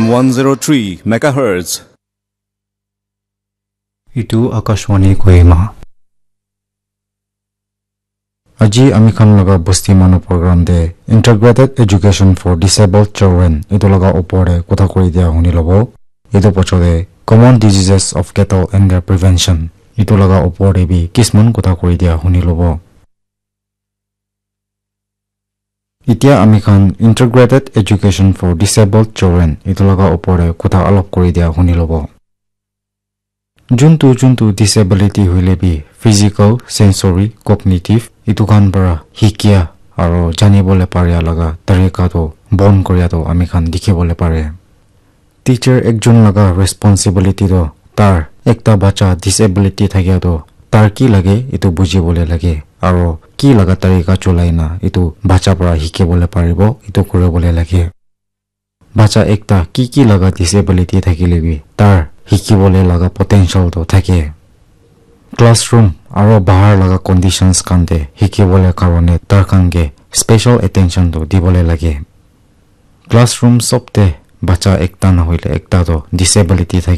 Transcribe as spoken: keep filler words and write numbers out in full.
one zero three megahertz. Itu Akashvani Kohima. Aji ami khan laga bosti manu program te Integrated Education for Disabled Children itu laga opor te kotha kuri dia huni lobo. Itu pochole Common Diseases of Cattle and Their Prevention itu laga opor te bi kisman kotha kuri dia huni lobo. Itya ami khan Integrated Education for Disabled Children itu laga opor te kotha alop kuri dia huni lobo. Juntu juntu disability hoile bi physical, sensory, cognitive itu khan para hikia aro janibole paria laga tarika to bon koria to ami khan dikhibole pare. Teacher ekjon laga responsibility to tar ekta bacha disability thakia to tar ki lage itu bujibole lage aro ki laga tarika cholai na itu bacha para hikibole paribo itu kuribole lage. Bacha ekta ki ki laga disability thakile bi tar hikibole laga potential to thake. Classroom aro bahar laga conditions khan te hikibole karone tar khan ke special attention to dibole lage. Classroom sob te bacha ekta nahoile ekta to disability thake.